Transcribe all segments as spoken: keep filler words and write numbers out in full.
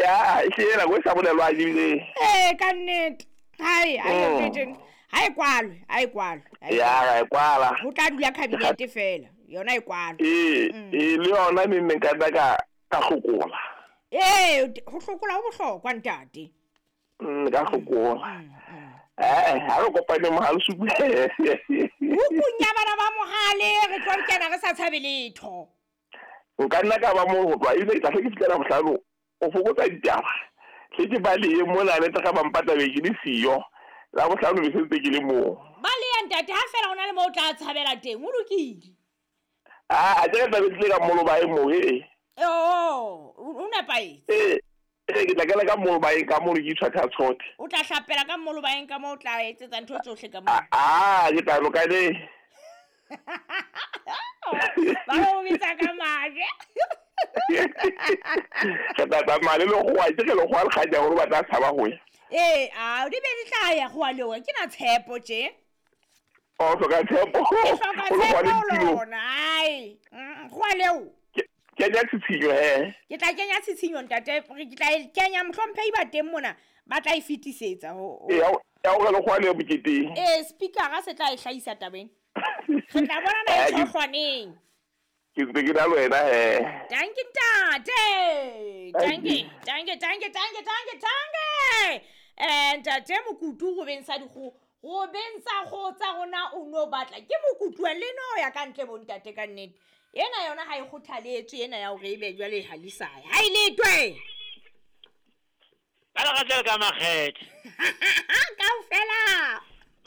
Ya, e hlile nako e sa bolelwang ebile. Ee, ka nnete. Hai, ha e teng. Ha e kwalwe, ha e kwalwe. Ya, e kwala. Ho tla dula cabinet fela. Yona e kwalwe. Ee, ee le yona neng neng ka nna ka ka hlokola. Ee, ho hlokola ho bohlokwa ntate. Mm, ka hlokola. Eh, ha re kopane mohale supu. Hukung ya bana ba mohale re tlo kena re sa tshabe letho. Nka nna ka ba mo ho tloha ebile ke tla hle ke fihlela bohlano o fokotsa ditaba. Hle ke ba le mona le tla ba mpatla be ke le siyo. La bohlano be sentse ke le moo. Ba le ya ntate ha fela hona le mo o tla tshabela teng, o lokile. Ah, a ke tla be tle ka molo ba e mo e. Oh, o nepahetse. Eh, eh ke tla kena ka molo ba e ka mo ke tshwatha tshote. O tla hlapela ka molo ba eng ka mo o tla etsetsa ntho tsohle ka mo. Ah, ke tla loka le. Ba o bitsa ka maje. Ke tla tsamaya le lekgowa, ke re lekgowa le kganya hore ba tla tshaba ho ya. Ee, a di be di tla ya go a lewa ke na tshepo tje. O hloka tshepo. Ke hloka tshepo lona. Ai, go a leo. Kenya tshitshinyo he. Ke tla kenya tshitshinyo ntate, ke tla e kenya mohlomphehi ba teng mona ba tla e fetisetsa ho. Ee, ya o re lekgowa le moketeng. Ee, speaker se tla e hlahisa tabeng. Re tla bona na e tshohlwaneng. Ke ntse ke na le wena he. Dankie ntate. Dankie, dankie, dankie, dankie, dankie, dankie. Eh ntate Mokutu go beng sa dikgo, go beng sa go tsa rona o no batla. Ke Mokutu le no ya ka ntle bo ntate ka nnete. Ena yona ha e kgothaletswe ena ya hore ebe jwale ha le sa ya. Ha e letwe. Ka la ka makgethe. Kaofela.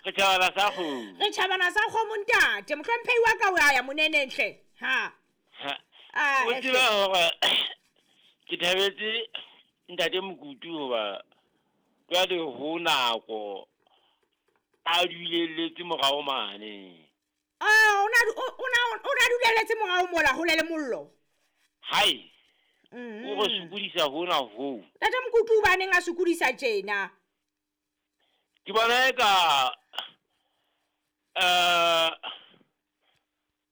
Re tjhabana sa kgomo. Re tjhabana sa kgomo ntate. Mohlomphehi wa ka o ya ya monenenhle. Ha. Ha. O tseba hore ke thabetse ntate Mokutu hoba jwale ho nako a dulelletse morao mane. Ah, ona ona ona dulelletse morao mola ho le le mollo. Hai. Mm. O re sokodisa hona ho. Ntate Mokutu ba neng a sokodisa tjena. Ke bona e ka eh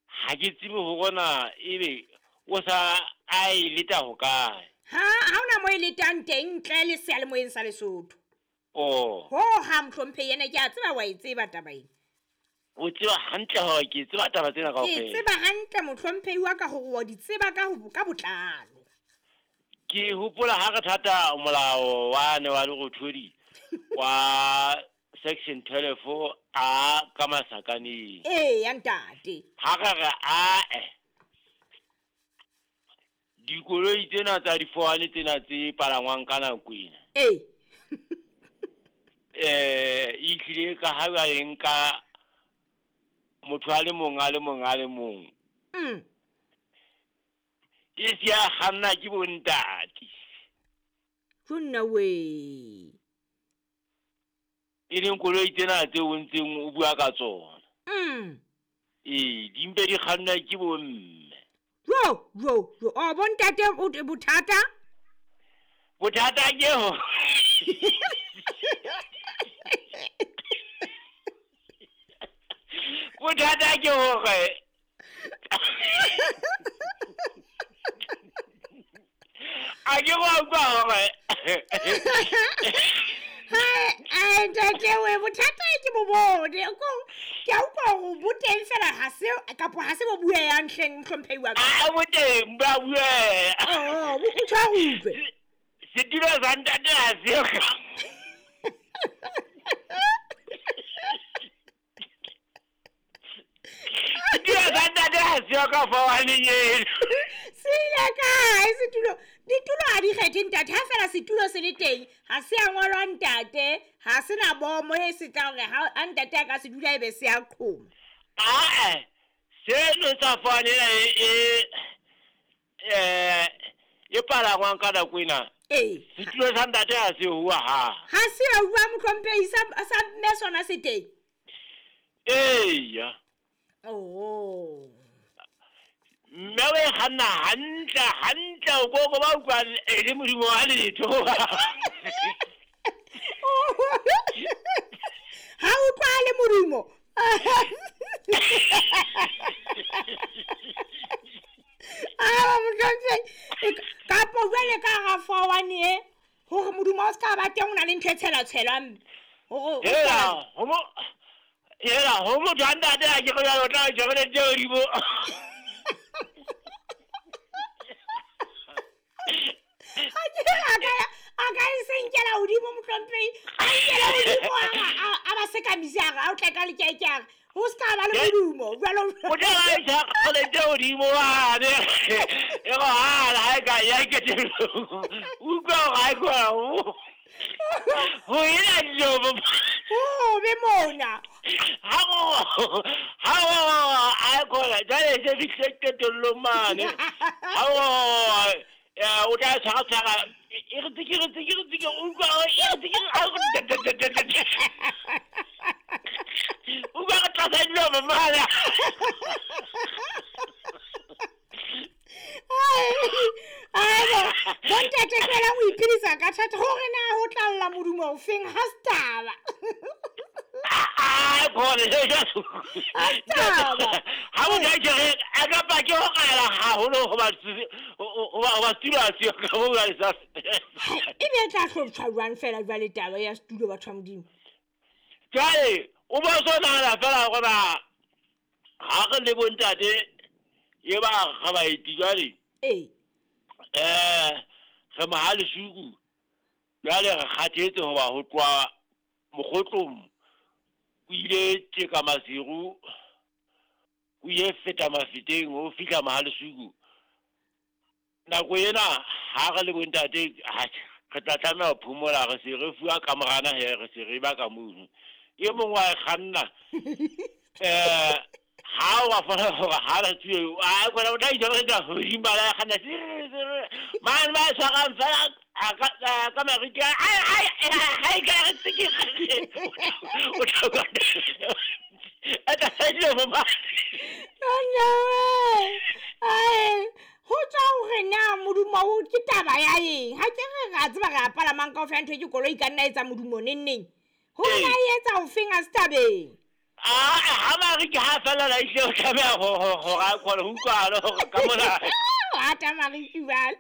ha ke tsebe hore na ebe o sa a e leta ho kae. Ha ha ona mo e letang teng ntle le seyalemoyeng sa Lesotho. Oh. Ho ha mohlomphehi yena ke a tseba wa e tseba taba ena. O tseba hantle hore ke tseba taba tsena kaofela. Ke tseba hantle mohlomphehi wa ka hore wa di tseba ka ho ka botlalo. Ke hopola ha re thata molao wa ne wa Lerothodi wa section twelve a ka masakaneng. Ee, ya ntate. Ha re re a eh dikoloi tsena tsa difoane tsena tse palangwang ka nako ena. Ee. Eh e tlile ka ha ba eng ka motho a le mong a le mong a le mong. Mm. E se ya kganna ke bontate. Jonna we. E leng koloi tsena tse o ntseng o bua ka tsona. Mm. Ee, di mpe di kganna ke bomme. Jo, jo, jo. O bontate o bothata? Bothata ke ho. Bothata ke hore a ke go utlwa hore Hai, ai ntate we bothata ke bo bone. Ko ke a utlwa hore bo teng fela ha se kapo ha se bo bueyang hleng mohlomphehi wa ka. A bo teng ba bueya. Oh, o tshwa ho utlwe. Setulo sa ntate ha se ka. Setulo sa ntate ha se ka fowaneng eno. Se ile kae setulo? Ditulo ha di kgethe ntate, ha fela setulo se le teng, ha se a ngolwa ntate, ha se na bomo e se tla hore ha ntate a ka se dula ebe se a qhoma. Ah, seno sa fowane ena e eh e palangwang ka nako ena. Ee. Setulo sa ntate ha se hua ha. Ha se a hua mohlomphehi sa sa mme sona se teng. Eya. Oh. Mme o e kganna hantle hantle o koko ba utlwa e le modimo wa letho. Ha utlwa le modumo. Ah, mohlomphehi kapo jwale ka ga fowane e modumo o se ka ba teng o na le ntho e tshela-tshelwang hore Hela, ho mo hela, ho motho a ntate a ke re jwale o tla o tjhebeleditse hodimo. Ha ke re a ka a ka e senkela hodimo mohlomphehi, a nkela hodimo a a- a ba sekamise a re a o tle ka lekeke a re ho se ka ba le modumo jwalo. O tla ba e tjhebeleditse hodimo mane. E go hala ha e ka ya ketelong. Utlwa hore ha e kgona ho ho ena dilo. Ho be mona. Ha go ha go ha e kgona jwale e se fihlile qetellong mane. Ha go eh, o tla tshwara tshwara e re tsikiri tsikiri tsikiri utlwa hore e re tsikiri ha go utlwa re tlasa dilo mane. Ai bo, bontate tlohela ho iphedisa ka thata hore na ho tla lla modumo o feng ha se taba. Ah, khona Ha se taba. Ha o ka ke re a ka pa ke ho qala haholo hoba hoba hoba setulo ha se yo ka bo ba sa. E be e tla hloptjhwa jwang fela jwale taba ya setulo batho ba Modimo. Jwale o bo so nahana fela hore na ha re le bontate e ba ga baeti jwale Ee. eh re Mohalesuku jwale re kgathetse hoba ho tloha mokgotlong o ile tjeka Maseru o ile feta Mafeteng o fihla Mohalesuku nako ena ha re le bontate ha re tla tlameha ho phomola re se re fuwa kamorana he re se re ba ka mono e mong wa e kganna eh ha wa fana hore ha re tswe a kgona o tla itjhebela hodimo ba la kganna mane ba tshwarang fela a ka ka mariki ai ai ai ka re tsikiri o tla a tla dilo mo Nna we. Ai, ho tswa hore na modumo o ke taba ya eng? Ha ke re ra tseba re a palamang kaofela ntho e ke koloi ka nna etsa modumo neng neng. Hore na e etsa ofeng ha se tabeng. Ah, ha mariki ha fela la ihle o tlameha ho ho ho ra khona ho utlwala hore ka mona Rata mariki jwale.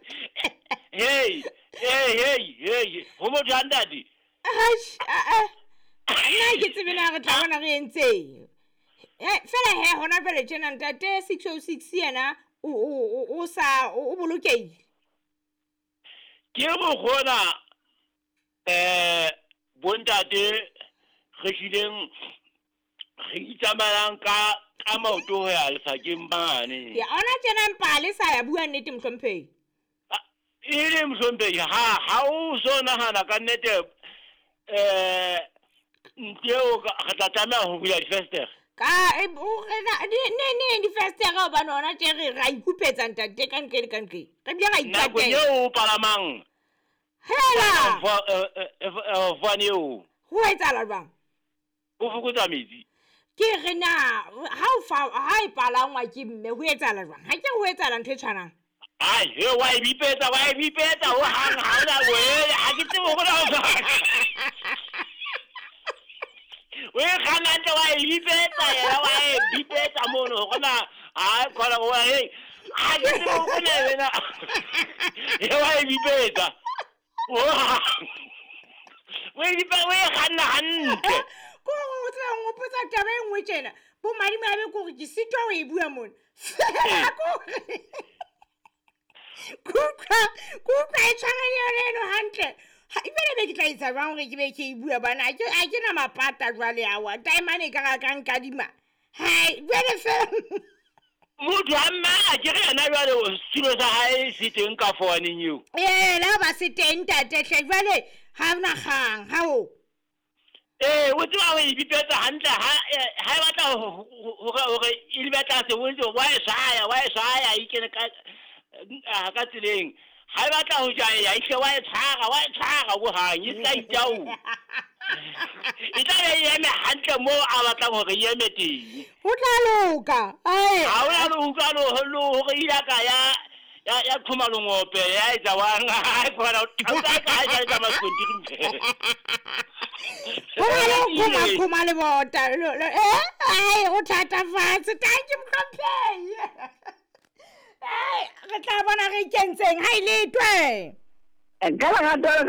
hey hey hey hey ho motho a ntate Atjhe, a a. Nna ha ke tsebe na re tla bona re entseng. Eh, fela he hona jwale tjena ntate six oh six yena o o o sa o bolokehile. Ke mokgona eh bontate re hlileng re itsamaelang ka ka maoto ho ya lefakeng mane. Ya ona tjena mpa le sa ya bua nnete mohlomphehi. E le mohlomphehi ha ha o so nahana ka nnete eh nteo re tla tlameha ho bula difestere. Ka e o re na ne ne difestere hobane hona tje re ra ikupetsa ntate ka ntle le ka ntle. Re bile ra Nako ikatela. eo o palamang Hela. fane eo Ho etsahala jwang? o fokotsa metsi. Ke re na ha o fa ha e palangwa ke mme ho etsahala jwang? Ha ke ho etsahala ntho e tshwanang. Ai, he wa e bipetsa, wa e bipetsa ho hang ha ona we, ha ke tsebe hore na o O e kganna hantle wa e bipetsa yena wa e bipetsa mono hore na ha khona ho hey ha ke tsebe hore na wena he wa e bipetsa. O e bipe o e kganna hantle. Ko o tseba o nkgopotsa taba e nngwe tjena. Bo madimabe ke hore ke sitwa ho e bua mona. Fela ke hore ke utlwa ke utlwa e tshwana le yona eno hantle. Ha ebile be ke tla etsa jwang hore ke be ke e bua bana ha ke ha ke na mapata jwale awa. Taemane e ka ra ka nkadima. Hai, jwale fela. Motho a mme a ke re yena jwale setulo sa hae se teng ka fowaneng eo. Ee, le ha ba se teng ntate hle jwale ha hona kgang ha o. Ee, o tseba ho e bipetsa hantle ha ha e batla hore hore e lebe tlase o ntse wa e shaya wa e shaya e kene ka ka tseleng. Ha e batla ho jaeya e hle wa e tshwara wa e tshwara hohang e tla itao. E tla be e eme hantle moo a batlang hore e eme teng. Ho tla loka. Ai. Ha hona le utlwa le hore ile ka ya ya ya qhoma lengope ya etsa wang ha kgona o tla ka ha etsa maskontiri. Ho na le ho qhoma qhoma lebota. Eh, ai o thatafatse. Thank you mohlomphehi. Ai, re tla bona re ikentseng ha e letwe. Ka lerato ka